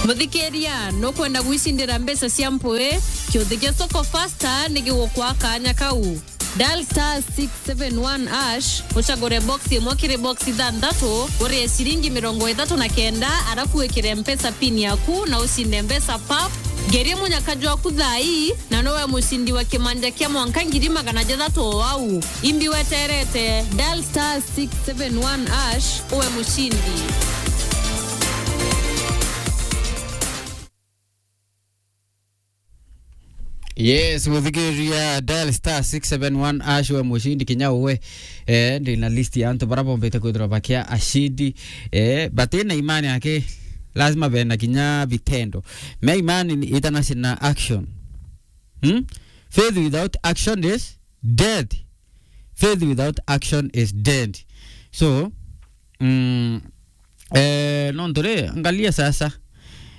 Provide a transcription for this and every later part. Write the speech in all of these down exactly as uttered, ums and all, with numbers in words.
Muthikiria, nukwenda gwicindira mbeca cia mpui? Kiuthi gia Soko Fasta ni gigukwa kanya kau. Dial star six seven one hash, ucagure box imwe kiri box ithanthatu, urie ciringi mirongo ithatu na kenda, arafu wikire Mpesa pin yaku na ucinde mbeca pap. Ngerie munyaka jwaku thaa ii, na nowe mucindi wa kimanja kia mwanka ngiri magana jathatu o au. Imbi weterete, dial star six seven one hash, uwe mucindi. Yes, muthikiria, dial star six seven one hash, we mucindi kinya uwe. Eh, ndi na list ya antu bara bombite kwithirwa bakia acindi. Eh, but ina imani yake, lazima bena kinya vitendo. Me imani ni itanaci na action. Hmm? Faith without action is dead. Faith without action is dead. So, mm, eh, nontu ri, angalia sasa.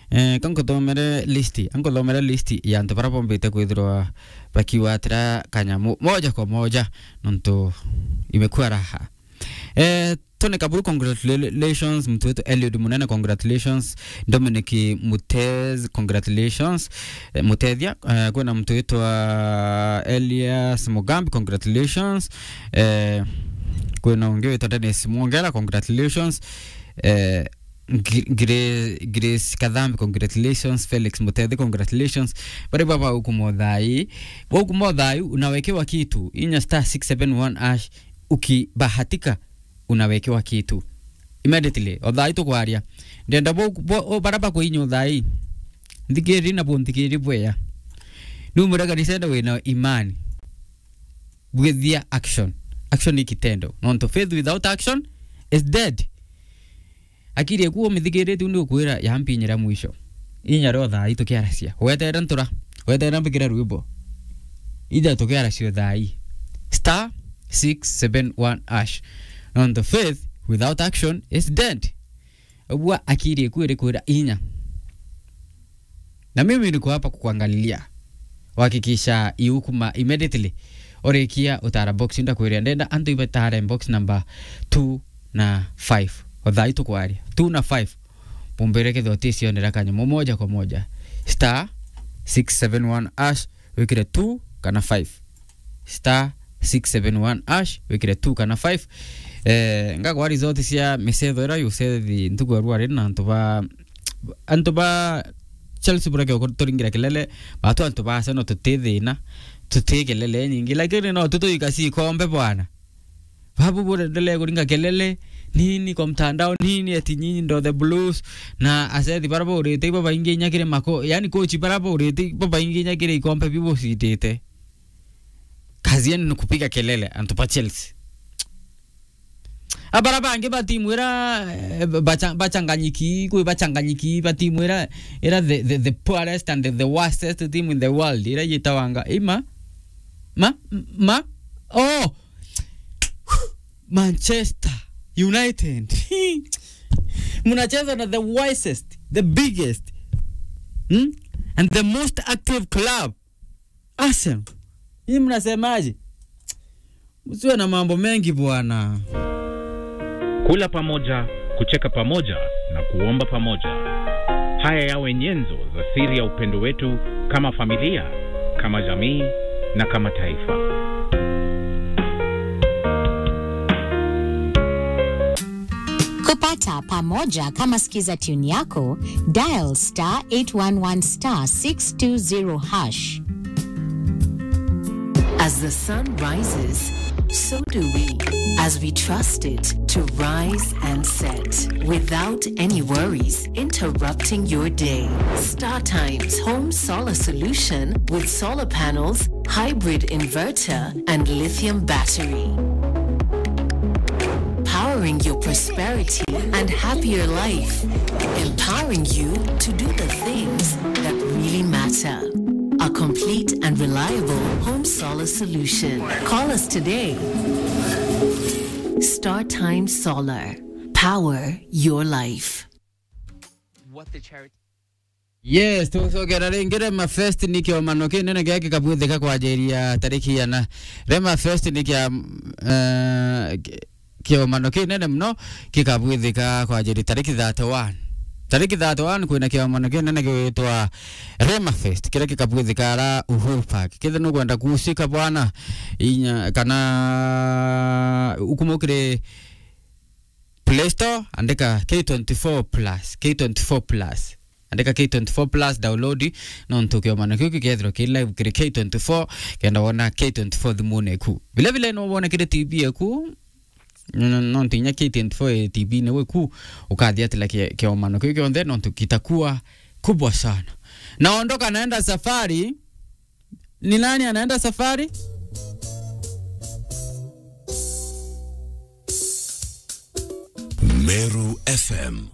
Eh, kankuthomere list, ankuthomere list ya antu bara bombite kwithirwa bakiwatira kanyamu moja kwa moja, nontu imekuwa raha. Eh, Tony Kaburu, congratulations. Mtu wetu Eliud Munene, congratulations. Dominic Mutez, congratulations. Eh, Mutethia, eh, kwina mtu witwa Elias Mugambi, congratulations. Eh, kwina ungi witwa Dennis Mwongela, congratulations. Eh, Gr-, Gre-, Grace Kathambi, congratulations. Felix Mutethi, congratulations. Bari baba ukuma uthai. Ukuma uthai, unawekewa kitu. Inya star six seven one hash, ukibahatika, unawekewa kitu. Immediately, o thaa ii tukwaria. Ndenda bo, bo, o bara bakwinya o thaa ii. Nthikiri na bunthikiri bwea. Numwira kanisa enda wina imani. Bwithia action. Action ni kitendo. Nontu faith without action is dead. Akiri eku umithikirite, u ni ukwira yampinyira mwisho. Inya rio thaa ii tukiaracia. Weterera ntura. Weterera mbikire rwimbo. Ija tukiaracia o thaa ii. Star six seven one hash. Nontu faith without action is dead. Ugua akiri eku iri kwira inya. Na mimi niko hapa kukuangalilia. Uhakikisha iukuma immediately. Urikia utara box, ndakwiria ndenda antu ibatare box number two na five. O thaa ii tukwaria. Two na five. Mumbire kethira uticionera kanyamu moja kwa moja. Star six seven one hash, wikire two kana five. Star six seven one hash, wikire two kana five. Eh, ngagwa result cia micetho ira yucethi ntuku ya rwari na antu ba, antu ba Chelsea bureke turingira kelele, batu antu ba Arsenal tuti thina, tuti kelele nyingi, lakini no tutuika si kombe bwana. Babu burendelee kuringa kelele, nini kwa mtandao, nini eti nyinyi ndo the Blues, na acethi bara baurite ibo baingi inya kiri mako, yani coach bara baurite ibo baingi inya kiri ikombe biu bucindite. Kazi yenu ni kupiga kelele, antu ba Chelsea. Abara bangi ba timu ira, eh, bacha-, bachanganyiki, kwi bachanganyiki, ba timu ira, ira the, the, the poorest and the, the worstest team in the world, ira yitawanga, ima? Ma? Ma? Oh! Manchester United. Mnacheza na the wisest, the biggest, hmm? And the most active club. Arsenal. Hii mnasemaje? Msiwe na mambo mengi bwana. Kula pamoja, kucheka pamoja na kuomba pamoja. Haya yawe nyenzo za siri ya upendo wetu kama familia, kama jamii na kama taifa. Kupata pamoja kama sikiza tune yako, dial star eight one one star six two zero hash. As the sun rises, so do we, as we trust it to rise and set without any worries interrupting your day. Star Times Home Solar Solution with solar panels, hybrid inverter, and lithium battery. Powering your prosperity and happier life. Empowering you to do the things that really matter. A complete and reliable home solar solution. Call us today. Star Time Solar. Power your life. What the charity Yes, tucokera ringi. Rema Fest ni kiomano kinene gia kikabwithika kwanjiria tariki iana. Rema Fest ni kia, eh, ki-, kiomano kinene muno kikabwithika kwanjiria tariki thirty-one. Tariki thirty-one kwina kiomano kinene gigwitwa Rema Fest, kiria gikabwithika ara Uhuru Park. Kethira nukwenda kuusika bwana, inya, kana ukuma kiri Play Store, andika K twenty-four plus, K twenty-four plus. Andika K twenty-four plus, download, nontu kiomano kiu gikethirwa ki live kiri K twenty-four, kenda wona K twenty-four thimune eku. Vile vile no wone kiri T V eku, no, no, nontu inya K twenty-four T V ni wiku, ukathia atila ki-, kiomano kiu kionthe, nontu kitakuwa kubwa sana. Naondoka naenda safari. Ni nani anaenda safari? Meru F M.